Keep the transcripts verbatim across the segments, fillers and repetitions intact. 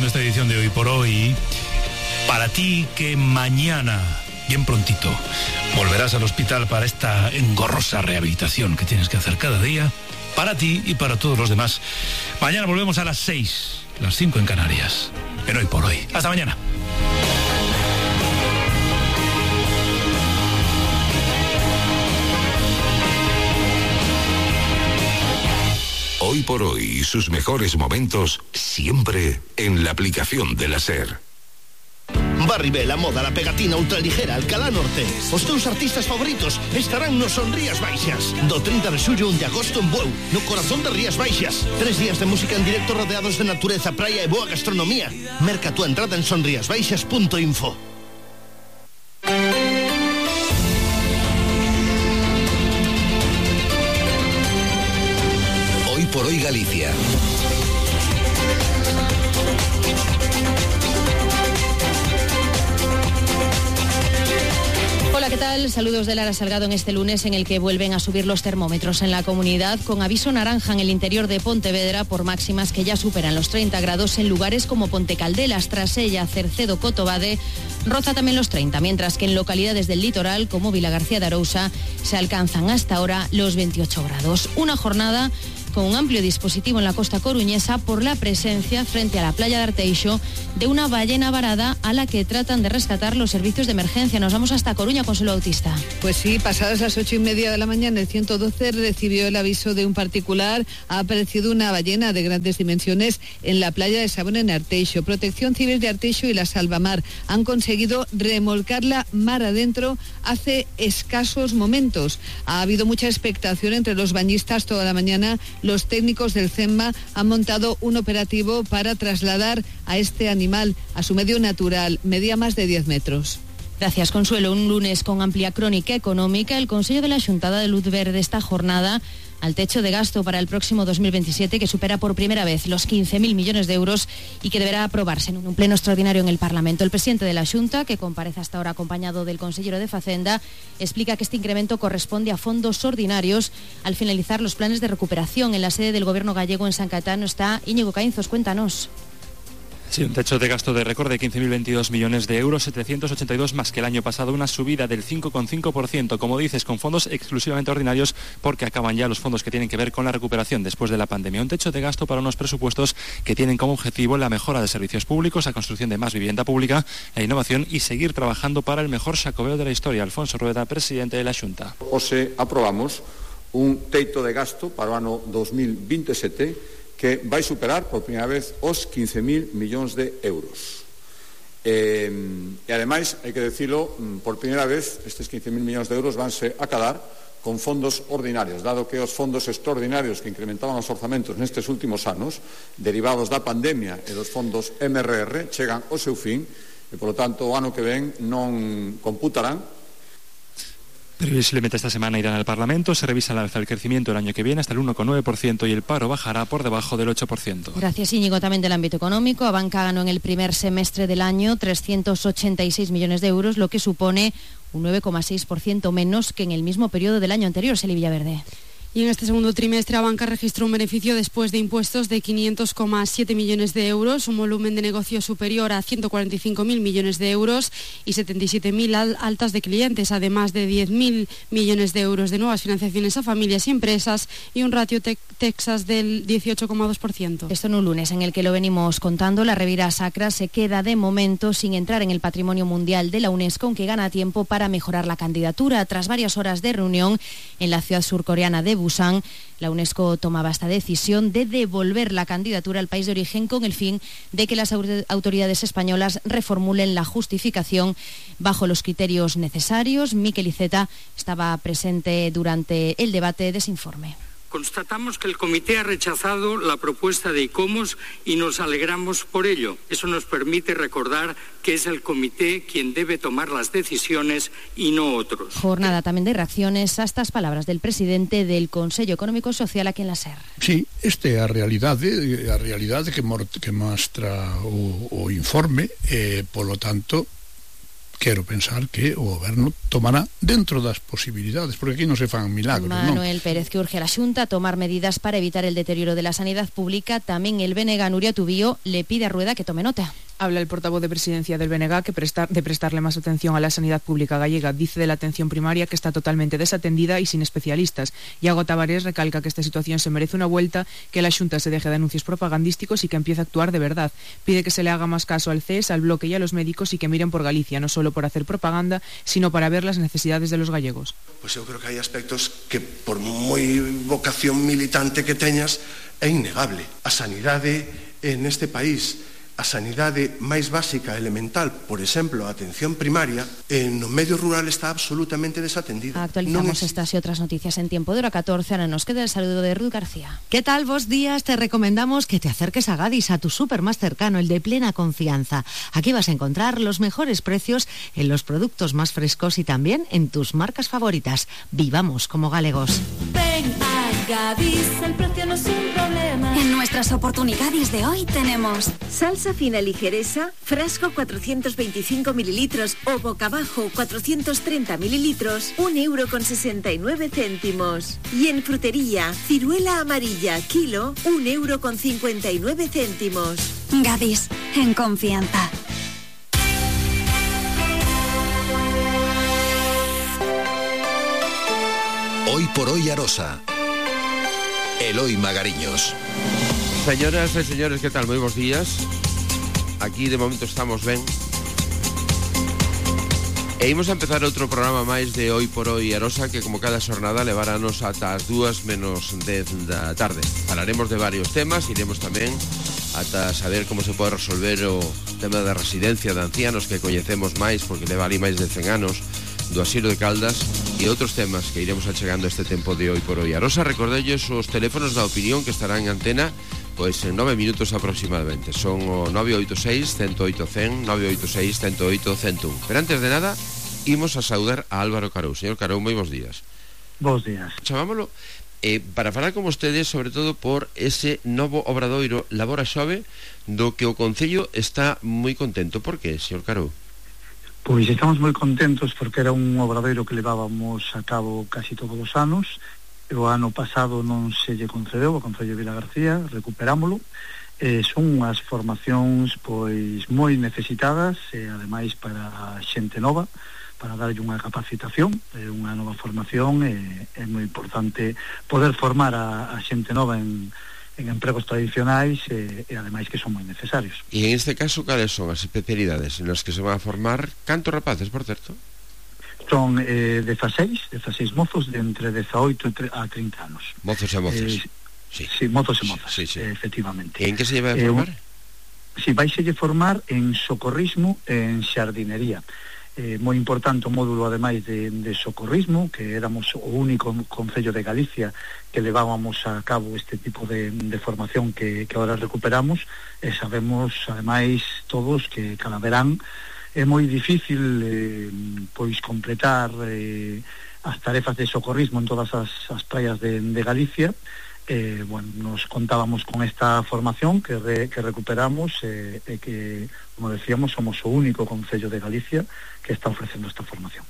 terminando esta edición de Hoy por Hoy. Para ti que mañana, bien prontito, volverás al hospital para esta engorrosa rehabilitación que tienes que hacer cada día, para ti y para todos los demás. Mañana volvemos a las seis, las cinco en Canarias, en Hoy por Hoy. Hasta mañana. Hoy por Hoy y sus mejores momentos siempre en la aplicación de la SER. Barribé, la moda, la pegatina ultraligera, Alcalá Norte. Os teus artistas favoritos estarán no Son Rías Baixas. Do trinta de xullo a un de agosto en Bueu, no corazón de Rías Baixas. Tres días de música en directo rodeados de natureza, praia e boa gastronomía. Merca tu entrada en sonriasbaixas punto info. Hoy por Hoy Galicia. Hola, ¿qué tal? Saludos de Lara Salgado en este lunes en el que vuelven a subir los termómetros en la comunidad, con aviso naranja en el interior de Pontevedra por máximas que ya superan los treinta grados en lugares como Pontecaldelas, Trasella, Cercedo, Cotobade. Roza también los treinta, mientras que en localidades del litoral como Vilagarcía de Arousa se alcanzan hasta ahora los veintiocho grados. Una jornada con un amplio dispositivo en la costa coruñesa por la presencia frente a la playa de Arteixo de una ballena varada a la que tratan de rescatar los servicios de emergencia. Nos vamos hasta Coruña, Consuelo Bautista. Pues sí, pasadas las ocho y media de la mañana, el ciento doce recibió el aviso de un particular. Ha aparecido una ballena de grandes dimensiones en la playa de Sabón en Arteixo. Protección Civil de Arteixo y la Salvamar han conseguido remolcarla mar adentro hace escasos momentos. Ha habido mucha expectación entre los bañistas toda la mañana. Los técnicos del CEMMA han montado un operativo para trasladar a este animal a su medio natural. Medía más de diez metros. Gracias, Consuelo. Un lunes con amplia crónica económica. El Consello de la Xuntada de Luz Verde esta jornada al techo de gasto para el próximo dos mil veintisiete, que supera por primera vez los quince mil millones de euros y que deberá aprobarse en un pleno extraordinario en el Parlamento. El presidente de la Xunta, que comparece hasta ahora acompañado del consejero de Facenda, explica que este incremento corresponde a fondos ordinarios al finalizar los planes de recuperación. En la sede del Gobierno gallego en San Caetano está Íñigo Caínzos. Cuéntanos. Sí, un techo de gasto de récord de quince mil veintidós millones de euros, setecientos ochenta y dos más que el año pasado, una subida del cinco coma cinco por ciento, como dices, con fondos exclusivamente ordinarios, porque acaban ya los fondos que tienen que ver con la recuperación después de la pandemia. Un techo de gasto para unos presupuestos que tienen como objetivo la mejora de servicios públicos, la construcción de más vivienda pública, la innovación y seguir trabajando para el mejor xacobeo de la historia. Alfonso Rueda, presidente de la Xunta. Hoxe aprobamos un teito de gasto para o ano dos mil veintisiete que vai superar por primeira vez os quince mil millóns de euros. Eh, e ademais, hai que decirlo, por primeira vez estes quince mil millóns de euros vanse acadar con fondos ordinarios, dado que os fondos extraordinarios que incrementaban os orzamentos nestes últimos anos, derivados da pandemia e dos fondos M R R, chegan ao seu fin e, polo tanto, o ano que ven non computarán. Previsiblemente esta semana irán al Parlamento, se revisa al alza el crecimiento el año que viene hasta el uno coma nueve por ciento y el paro bajará por debajo del ocho por ciento. Gracias, Íñigo. También del ámbito económico, Abanca ganó en el primer semestre del año trescientos ochenta y seis millones de euros, lo que supone un nueve coma seis por ciento menos que en el mismo periodo del año anterior. Celi Villaverde. Y en este segundo trimestre, Abanca registró un beneficio después de impuestos de quinientos coma siete millones de euros, un volumen de negocio superior a ciento cuarenta y cinco mil millones de euros y setenta y siete mil altas de clientes, además de diez mil millones de euros de nuevas financiaciones a familias y empresas y un ratio te Texas del dieciocho coma dos por ciento. Esto en un lunes en el que lo venimos contando, la Ribeira Sacra se queda de momento sin entrar en el Patrimonio Mundial de la UNESCO, aunque gana tiempo para mejorar la candidatura. Tras varias horas de reunión en la ciudad surcoreana de Busan, la UNESCO tomaba esta decisión de devolver la candidatura al país de origen con el fin de que las autoridades españolas reformulen la justificación bajo los criterios necesarios. Miquel Iceta estaba presente durante el debate de ese informe. Constatamos que el comité ha rechazado la propuesta de ICOMOS y nos alegramos por ello. Eso nos permite recordar que es el comité quien debe tomar las decisiones y no otros. Jornada también de reacciones a estas palabras del presidente del Consello Económico e Social aquí en la SER. Sí, esta é a realidade, a realidade que, que mostra o, o informe, e, polo tanto, quero pensar que o goberno tomará dentro das posibilidades, porque aquí non se fan milagros, non? Manuel Pérez, que urge a la Xunta a tomar medidas para evitar el deterioro de la sanidad pública. Tamén el B N G Nuria Tubío le pide a Rueda que tome nota. Habla el portavoz de presidencia del B N G que prestar, de prestarle más atención a la sanidad pública gallega. Dice de la atención primaria que está totalmente desatendida y sin especialistas. Iago Tavares recalca que esta situación se merece una vuelta, que la Xunta se deje de anuncios propagandísticos y que empiece a actuar de verdad. Pide que se le haga más caso al C E S, al Bloque y a los médicos y que miren por Galicia, no solo por hacer propaganda, sino para ver las necesidades de los gallegos. Pues eu creo que hai aspectos que, por moi vocación militante que teñas, é innegable. A sanidade en este país, a sanidade máis básica, elemental, por exemplo, a atención primaria, en no medio rural está absolutamente desatendida. Actualizamos es... estas y otras noticias en tiempo de hora catorce. Ahora nos queda el saludo de Ruth García. ¿Qué tal? Vos días. Te recomendamos que te acerques a Gadis, a tu súper más cercano, el de plena confianza. Aquí vas a encontrar los mejores precios en los productos más frescos y también en tus marcas favoritas. Vivamos como galegos. Ven a Gadis, el precio no es un problema. En nuestras oportunidades de hoy tenemos salsa fina ligereza, frasco cuatrocientos veinticinco mililitros o boca abajo cuatrocientos treinta mililitros, un euro con sesenta y nueve céntimos. Y en frutería, ciruela amarilla, kilo, un euro con cincuenta y nueve céntimos. Gadis, en confianza. Hoy por hoy Arosa. Eloi Magariños. Señoras e señores, que tal? Moi bons días. Aquí de momento estamos ben. E imos a empezar outro programa máis de Hoy por Hoy Arosa, que como cada xornada leváranos ata as dúas menos dez da tarde. Falaremos de varios temas, iremos tamén ata saber como se pode resolver o tema da residencia de ancianos que coñecemos máis, porque leva ali máis de cen anos, do asilo de Caldas, e outros temas que iremos achegando este tempo de Hoy por Hoy Arosa. Recordelles os teléfonos da opinión que estarán en antena pois en nove minutos aproximadamente. Son o nove oito seis, cento oito, cen, nove oito seis, cento oito, cento un. Pero antes de nada, imos a saudar a Álvaro Carou. Señor Carou, moi bons días. Bons días. Chamámolo eh, para falar con vostedes sobre todo por ese novo obradoiro Labora Xove, do que o Concello está moi contento. Por que, señor Carou? Pois estamos moi contentos porque era un obradoiro que levábamos a cabo casi todos os anos. O ano pasado non se lle concedeu ao Concello de Vilagarcía, recuperámolo. Eh, son unhas formacións pois moi necesitadas e ademais para xente nova, para darlle unha capacitación, eh, unha nova formación. E é moi importante poder formar a, a xente nova en, en empregos tradicionais e, e ademais que son moi necesarios. E en este caso, cales son as especialidades en las que se van a formar? Cantos rapaces, por certo? Son eh, dezaseis, dezaseis mozos de entre dezaoito a trinta anos. Mozos e mozas. Eh, sí. sí, mozos e mozas, sí, sí. Eh, efectivamente. E en que se lleva a formar? Eh, si, vaiselle formar en socorrismo e en xardinería. Eh, moi importante o módulo, ademais de, de socorrismo, que éramos o único concello de Galicia que levábamos a cabo este tipo de, de formación que, que ahora recuperamos, e sabemos, ademais, todos que cada verán é moi difícil eh, pois completar eh, as tarefas de socorrismo en todas as, as praias de, de Galicia. Eh, bueno, nos contábamos con esta formación que, re, que recuperamos e eh, eh, que, como decíamos, somos o único concello de Galicia que está ofrecendo esta formación.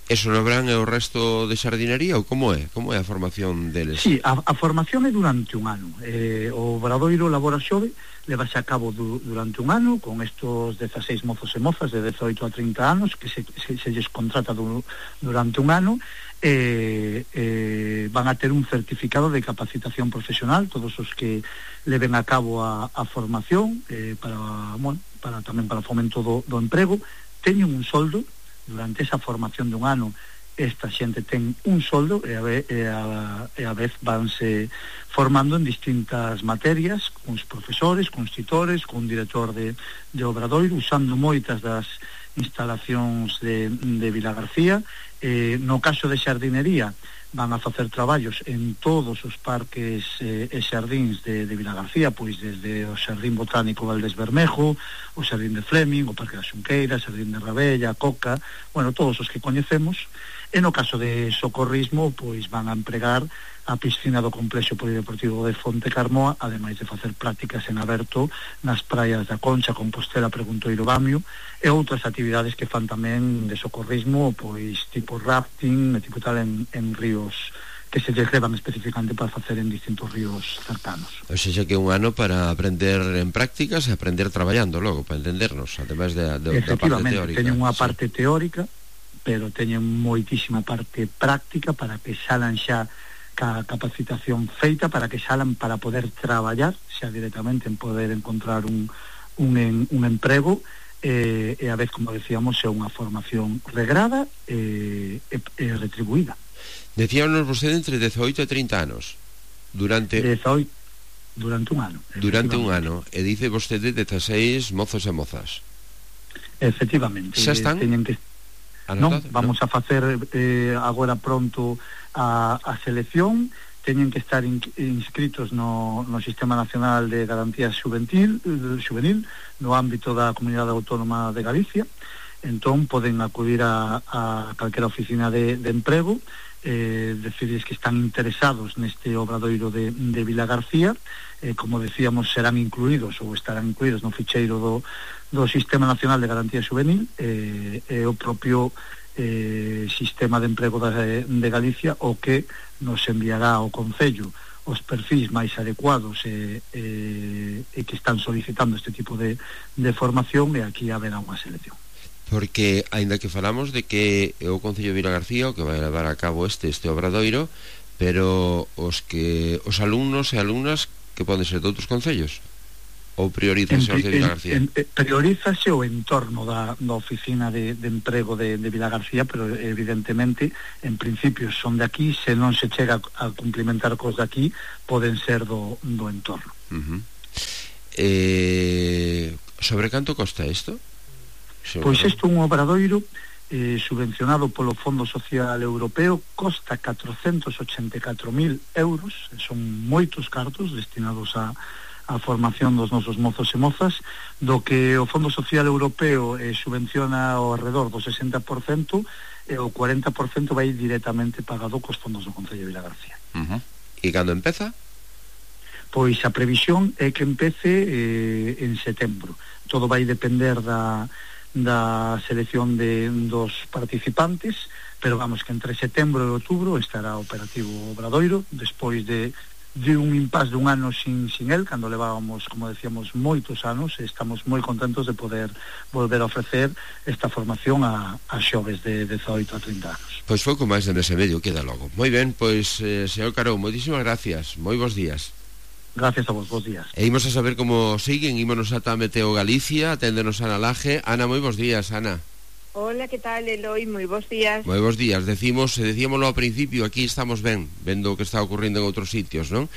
Eso no verán o resto de xardinería ou como é? Como é a formación deles? Sí, a, a formación é durante un ano. Eh, o obradoiro Labora Xove levase a cabo du, durante un ano con estos dezaseis mozos e mozas de dezaoito a trinta anos que se, se, se lles contrata du, durante un ano. Eh, eh, van a ter un certificado de capacitación profesional todos os que leven a cabo a, a formación eh, para, bueno, para tamén para o fomento do, do emprego. Teñen un soldo durante esa formación dun ano. Esta xente ten un soldo e a, ve, e a, e a vez vanse formando en distintas materias, cuns profesores, cuns titores, cun director de, de obradoiro, usando moitas das instalacións de, de Vilagarcía. Eh, no caso de xardinería, van a facer traballos en todos os parques eh, e xardíns de, de Vilagarcía, pois desde o Xardín Botánico Valdés Bermejo, o Xardín de Fleming, o Parque da Xunqueira, o Xardín de Rabella, Coca, bueno, todos os que coñecemos. E no caso de socorrismo, pois van a empregar a piscina do Complexo Polideportivo de Fonte Carmoa, ademais de facer prácticas en aberto nas praias da Concha, Compostela, Preguntoiro, Bamio, e outras actividades que fan tamén de socorrismo, pois tipo rafting, e tipo tal en, en ríos que se lle levan especificamente para facer en distintos ríos cercanos. O sea, que un ano para aprender en prácticas e aprender traballando logo, para entendernos, ademais de, de, da parte teórica. Teñen unha sí. parte teórica, pero teñen moitísima parte práctica para que salan xa ca capacitación feita, para que salan para poder traballar xa directamente en poder encontrar un, un, en, un emprego, eh, e a vez, como decíamos, é unha formación regrada e, e, e retribuída. Decíanos vostede entre dezoito e trinta anos. Durante dezoito, durante un ano. Durante un ano. E dice vostede dezasseis mozos e mozas. Efectivamente. Xa están? Teñen que... Non, vamos ¿no? a facer eh, agora pronto a, a selección. Teñen que estar in, inscritos no, no Sistema Nacional de Garantía Juvenil, Juvenil no ámbito da Comunidade Autónoma de Galicia. Entón poden acudir a, a calquera oficina de, de emprego, eh, decides que están interesados neste obradoiro de, de Vilagarcía, eh, como decíamos, serán incluídos ou estarán incluídos no ficheiro do, do Sistema Nacional de Garantía Juvenil, e eh, eh, o propio eh, Sistema de Emprego de, de Galicia o que nos enviará ao Concello os perfis máis adecuados e, e, e que están solicitando este tipo de, de formación, e aquí haberá unha selección. Porque, aínda que falamos de que é o Concello de Vilagarcía o que vai levar a cabo este este obradoiro, pero os que os alumnos e alumnas que poden ser de outros concellos, ou priorízase os de Vilagarcía? En, en, priorízase o entorno da, da oficina de, de emprego de, de Vilagarcía, pero evidentemente en principio son de aquí, se non se chega a cumplimentar cos de aquí, poden ser do, do entorno. Uh-huh. eh, sobre canto costa isto? Pois isto un obradoiro eh, subvencionado polo Fondo Social Europeo, costa catrocentos ochenta e catro mil euros, son moitos cartos destinados a, a formación dos nosos mozos e mozas, do que o Fondo Social Europeo eh, subvenciona ao redor do sesenta por cento, e o cuarenta por cento vai directamente pagado cos fondos do Concello de Vilagarcía. Uh-huh. E cando empeza? Pois a previsión é que empece eh, en setembro. Todo vai depender da da selección de dos participantes, pero vamos que entre setembro e outubro estará operativo o obradoiro, despois de, de un impas de un ano sin, sin el, cando levábamos, como decíamos, moitos anos, e estamos moi contentos de poder volver a ofrecer esta formación a, a xoves de dezoito a trinta anos. Pois pouco máis de mes e medio queda logo. Moi ben, pois, eh, señor Carou, moitísimas gracias, moi bons días. Gracias a vos, bons días. E imos a saber como siguen, ímonos ata Meteo Galicia, aténdenos Ana Laje. Ana, moi bons días, Ana. Hola, que tal, Eloi? Moi bons días. Moi bons días, decimos, decíamoslo ao principio, aquí estamos ben, vendo o que está ocurrindo en outros sitios, non?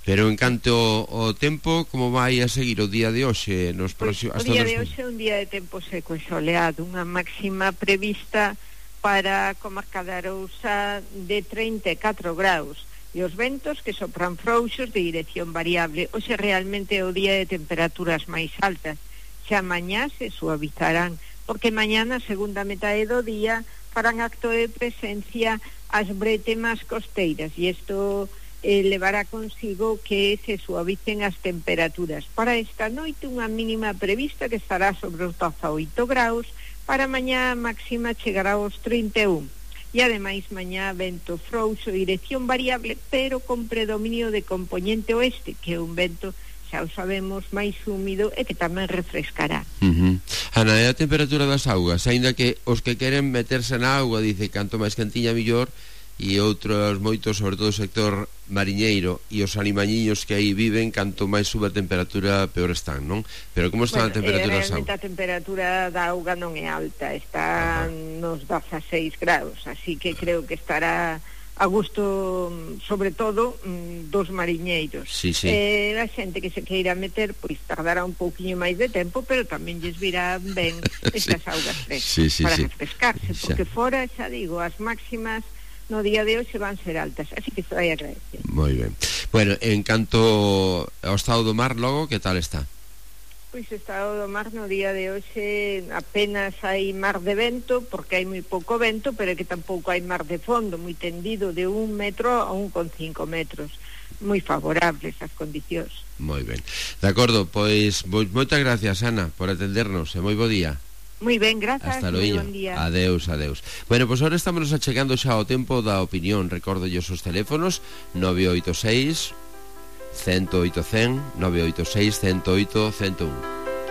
Pero en canto o tempo, como vai a seguir o día de hoxe? Nos pues, próximos, o día de hoxe é un día de tempo seco e soleado, unha máxima prevista para a comarca da Arousa de trinta e catro graus. E os ventos que sopran frouxos de dirección variable. Hoxe realmente é o día de temperaturas máis altas. Xa mañá se suavizarán, porque mañá na segunda metade do día farán acto de presencia as bretemas costeiras, e isto eh, levará consigo que se suavicen as temperaturas. Para esta noite unha mínima prevista que estará sobre os dezaoito graus, para mañá máxima chegará aos trinta e un. E ademais mañá vento frouxo, dirección variable, pero con predominio de componente oeste, que é un vento, xa o sabemos, máis húmido e que tamén refrescará. Uh-huh. Ana, é a temperatura das augas, aínda que os que queren meterse na auga, dice, canto máis quentiña millor, e outros moitos, sobre todo o sector mariñeiro e os animañiños que aí viven, canto máis sube a temperatura peor están, non? Pero como está bueno, a temperatura eh, realmente a temperatura da auga non é alta, está Ajá. nos dezaseis graus, así que creo que estará a gusto, sobre todo, dos mariñeiros. Sí, sí. Eh, a xente que se queira meter, pois tardará un pouquiño máis de tempo, pero tamén lles virá ben estas sí. augas frescas sí, sí, para sí. refrescarse, porque xa. fora, xa digo, as máximas no día de hoxe van ser altas, así que vai agradecer. Moi ben. Bueno, en canto ao estado do mar logo, que tal está? Pois Pois o estado do mar no día de hoxe apenas hai mar de vento, porque hai moi pouco vento, pero que tampouco hai mar de fondo, moi tendido, de un metro a un con cinco metros. Moi favorables as condicións. Moi ben. De acordo, pois moitas gracias, Ana, por atendernos, e moi bo día. Moi ben, grazas. Hasta loiño. Bon día. Adeus, adeus. Bueno, pois agora estamos achegando xa ao tempo da opinión. Recordo os teléfonos nove oito seis, uno cero oito, cen, nove oito seis, uno cero oito, cento un.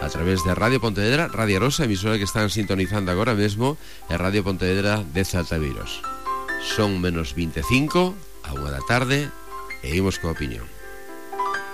A través de Radio Pontevedra, Radio Arosa, emisora que están sintonizando agora mesmo, e Radio Pontevedra de Saltaviros. Son menos veinticinco, a unha da tarde, e imos coa opinión.